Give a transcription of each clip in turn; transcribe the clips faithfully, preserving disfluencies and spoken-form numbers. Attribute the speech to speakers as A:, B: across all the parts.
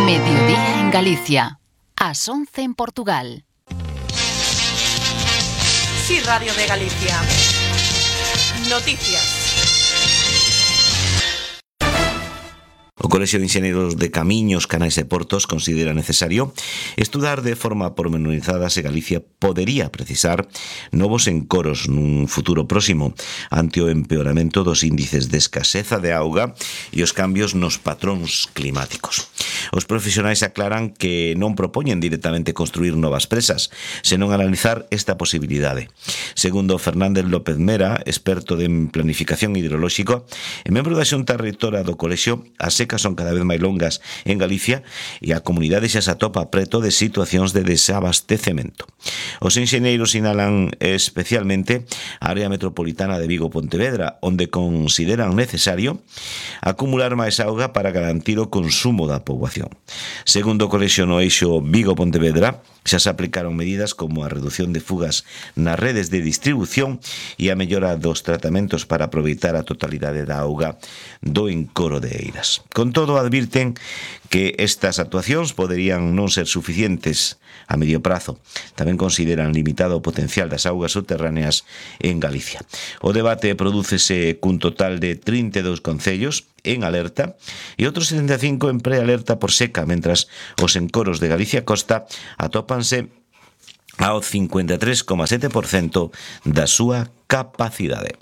A: Mediodía en Galicia, ás once en Portugal.
B: Sí, Radio de Galicia. Noticias.
C: O Colexio de Enxeñeiros de Camiños, Canais e Portos considera necesario estudar de forma pormenorizada se Galicia podería precisar novos encoros nun futuro próximo ante o empeoramento dos índices de escaseza de auga e os cambios nos patróns climáticos. Os profesionais aclaran que non propoñen directamente construir novas presas, senón analizar esta posibilidade. Segundo Fernández López Mera, experto en planificación hidrolóxica e membro da Xunta Reitora do Colexio, as secas son cada vez máis longas en Galicia e a comunidade xa se atopa preto de situacións de desabastecemento. Os enxeñeiros sinalan especialmente a área metropolitana de Vigo-Pontevedra, onde consideran necesario acumular máis auga para garantir o consumo da poboación. Segundo o Colexio no eixo Vigo-Pontevedra, xa se aplicaron medidas como a reducción de fugas nas redes de distribución e a mellora dos tratamentos para aproveitar a totalidade da auga do encoro de Eiras. Con todo, advirten que estas actuacións poderían non ser suficientes a medio prazo. Tamén consideran limitado o potencial das augas subterráneas en Galicia. O debate prodúcese cun total de trinta e dous concellos en alerta e outros setenta e cinco en prealerta por seca, mentras os encoros de Galicia Costa atópanse ao cincuenta e tres coma sete por cento da súa capacidade.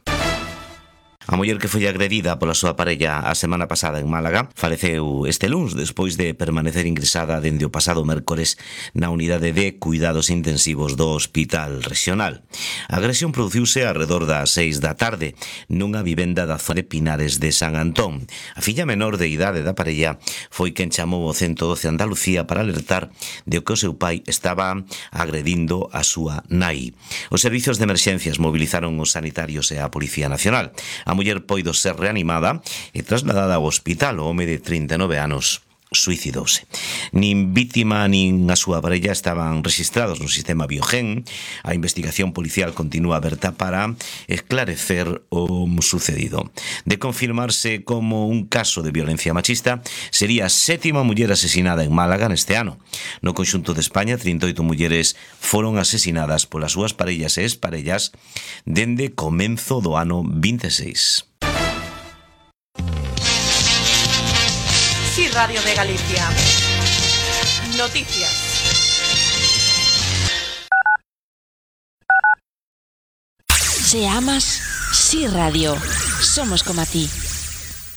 C: A muller que foi agredida pola súa parella a semana pasada en Málaga faleceu este luns despois de permanecer ingresada dende o pasado mércores na unidade de cuidados intensivos do Hospital Regional. A agresión produciuse arredor das seis da tarde nunha vivenda da zona de Pinares de San Antón. A filla menor de idade da parella foi quen chamou o ciento doce Andalucía para alertar de que o seu pai estaba agredindo a súa nai. Os servizos de emerxencias movilizaron os sanitarios e a Policía Nacional. A muller poido ser reanimada e trasladada ao hospital. O home de trinta e nove anos suicidouse. Nin vítima nin a súa parella estaban registrados no sistema Biogen. A investigación policial continúa aberta para esclarecer o sucedido. De confirmarse como un caso de violencia machista, sería a sétima muller asesinada en Málaga neste ano. No conxunto de España, trinta e oito mulleres foron asesinadas polas súas parellas e exparellas dende comenzo do ano vinte e seis.
B: Sí, Radio de Galicia. Noticias.
D: Si amas, Sí Radio. Somos como a ti.